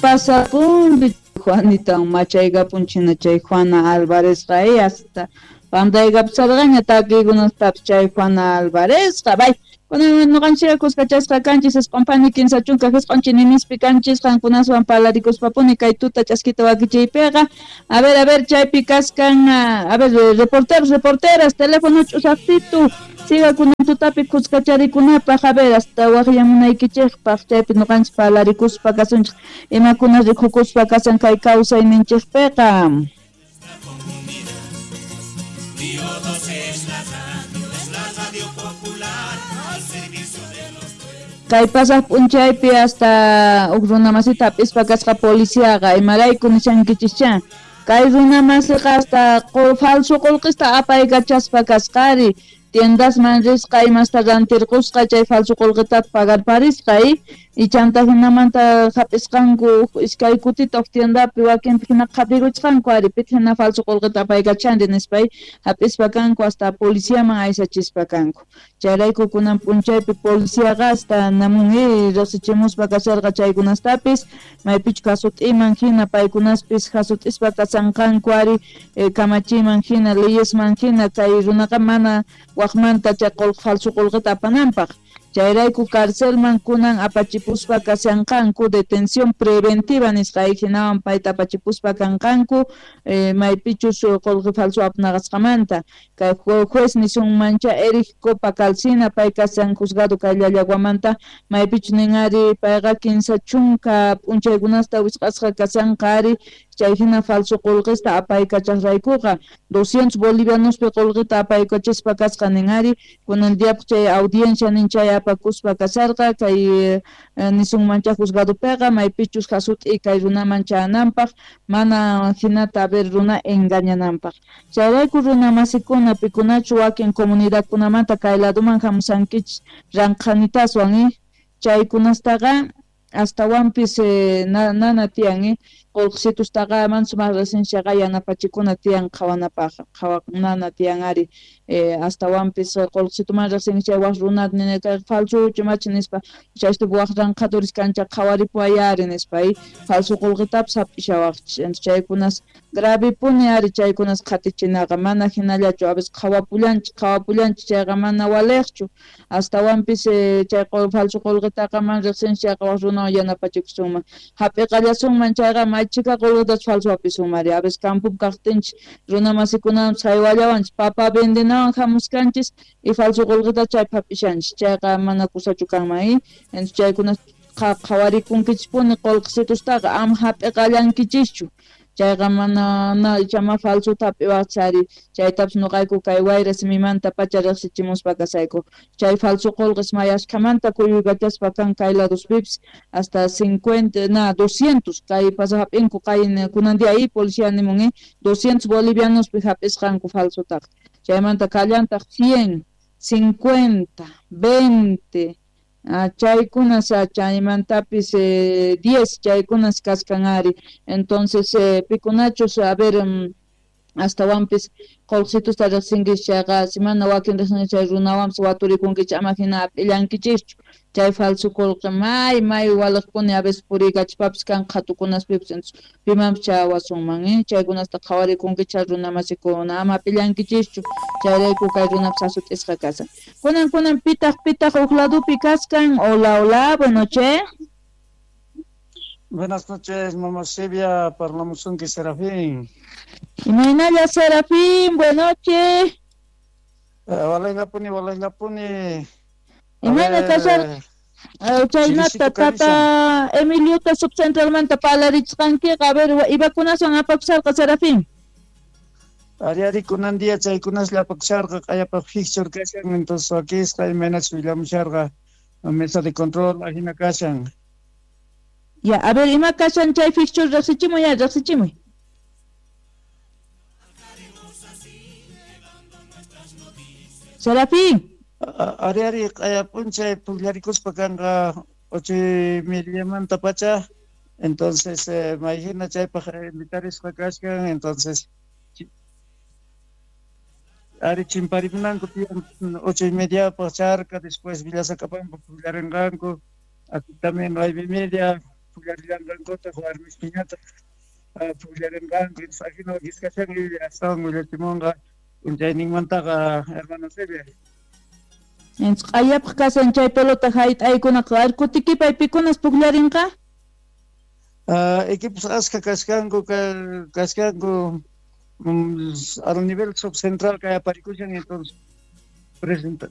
Pasapun Juanita machaykapun chay Juana Alvarezqa hasta pantaykapusarqaña takiykunastapis chay Juana Alvarezqa. Bay kunan ñuqanchikqa kuskachasqa kanchis 90 39 chininispi kanchis qankunaswan parlarikuspapuni kay tuta ch'askita wakichiypiqa. A ver chaypi kaskan, a ver, reporteros, reporteras, teléfono ch'usaqtitu siga kunan tutapi kuskacharikunapaq, a ver, hasta waqyamunaykichikpaq chaypi ñuqanchik parlarikuspa kasunchik imakuna rikukuspa kasan kay kawsayninchikpiqa. Kay pasaq p'unchaypi hasta huk runamasita hap'ispa kasqa policiaqa, imarayku nishankichikcha. Kay runamasiqa hasta falso qullqista apaykachaspa kasqari, tiendasman risqa imasta rantirqusqa chay falso qullqita pagarparisqa y chanta hinamanta hap'isqanku iskay kutita huk tiendapi wakinpi hina qhatikuchqanku ari pitaq hina falso qullqita apaykachanri nispa hap'ispa kanku hasta policiaman aysachispa kanku. Chayrayku kunan p'unchaypi policiaqa hasta namun riqsichimuspa kasharqa chaykunastapis maypichu kasut'iman hina paykunaspis hasut'ispa kasanqanku ari kamachiman hina leyesman hina kay runaqa mana waqmanta chay falso qullqita apananpaq. Chayrayku carcelman kunan apachipuspa kashanqanku detención preventiva nisqa hinawan payta apachipuspa kanqanku maypichus qullqi falso apanaqasqamanta. Kay juez nisunmancha Eric Copa Calcina pay kashan juzgado kay Llallaguamanta maypichus nin ari payqa 30 p'unchaykunasta wisq'asqa kashanqa ari chay hina falso qullqista apaykachaqraykuqa 200 bolivianospi qullqita apaykachispa kasqa nin ari kunan diapaq chay audiencia nin chay apakuspa kasharqa kay nisunmancha juzgadopiqa maypichus hasut'i kay runaman chayananpaq mana hinata a ver runa engañananpaq. Chayrayku runa masikuna pikunachu wakin comunidadkunamanta kay laduman hamusankichis ranqhanitaswan chaykunastaqa astawanpis nana tiyan qullqisitustaqa mana sumaq riqsinchikqa yanapachikuna tiyan qhawanapaq qhawanana tiyan ari astawanpis qullqisituman riqsinki chay waq runa kay falso machi nispa chaystupi waq ranqhaduris kancha qhawaripuway ari nispa falso qullqitapis hap'ishawaqchis. Chaykunas gravipuni ari chaykunas qhatichinaqa mana hinallachu a veces qhawapullanchik chayqa mana waliqchu astawanpis chay falso qullqitaqa mana riqsinchik chayqa waq runawan yanapachikusunman hap'iqallasunman chayqa maychika qullqitachu falso hapisunman ari a veces campopi kaqtinchik runamasikunawanpis haywallawanchik papa vendenawan hamuskanchis y falso qullqita chaypi hap'ishanchik chayqa mana kusachu kanman entonces chaykunas qhawarikunkichispuni qullqisitustaqa ama hap'iqallankichischu chayqa mana ichama falsota hap'iwaqchis ari chaytapis ñuqayku kay wayra simimanta pacha riqsichimuspa kasayku chay falso qullqis may ashkhamanta kuyuykachaspa kan kay ladospipis hasta 50 na 200 kay pasaq hap'inku kay kunan día policía nimun 200 bolivianospi hap'isqanku falsotaqa chaymanta kallantaq 100 50 20 chaykunas chaymantapis 10 chaykunas kaskan ari. Entonces pikunachus a ver astawanpis qullqisitusta riqsinkichik chayqa si mana wakin riqsinkichik chay runawanpis waturikunkichik ama hina hap'illankichischu chay falso qullqi may waliqpuni a veces puriykachispapis kan qhatukunaspipis entonces pimanpis chayawasunman chaykunasta qhawarikunkichik runamasikuna ama hap'illankichischu chayrayku kay runapis hasut'isqa kasan. Kunan pitaq huk ladupi kaskan. Hola, hola, buenas noches. Buenas noches, mamá Silvia, parlamusunki Serafín. Imaynalla Serafín, buenas noches. Walaylapuni, walaylapuni. Imayna kashar chaynata tata Emiliota subcentralmanta parlarichqankiqa, a ver, ibakunaswan apakusharqa Serafín. Ari kunan día chaykunaslla apakusharqa q'ayapaq fixture kashan, entonces wakisqa imaynachus willamusharqa mesa de control ajina kashan. Ya, a ver, ima kashan chay fixture riqsichimuy ya, riqsichimuy. Serafín. Ari q'aya p'unchay pukllarikuspa kanqa 8:30manta pacha, entonces mayhina chaypaq invitarisqa kashkan, entonces ari chimparimunanku tiyan 8:30paq charka, después Villasacapampa pukllarinqanku, aquí también 9:30 pujllarillanqankutaj, warmispiñataj pujllarinqanku. Ajina wakis kashan, astawan willachimunqa p'unchayninmantaqa hermana Celia. Q'ayapaq kashan chay pelota hayt'aykunaqa. Kutikipay, pikunas pujllarinqa? Equipos askha kashkanku, kashkanku al nivel subcentral kay aparikushan, entonces presentar.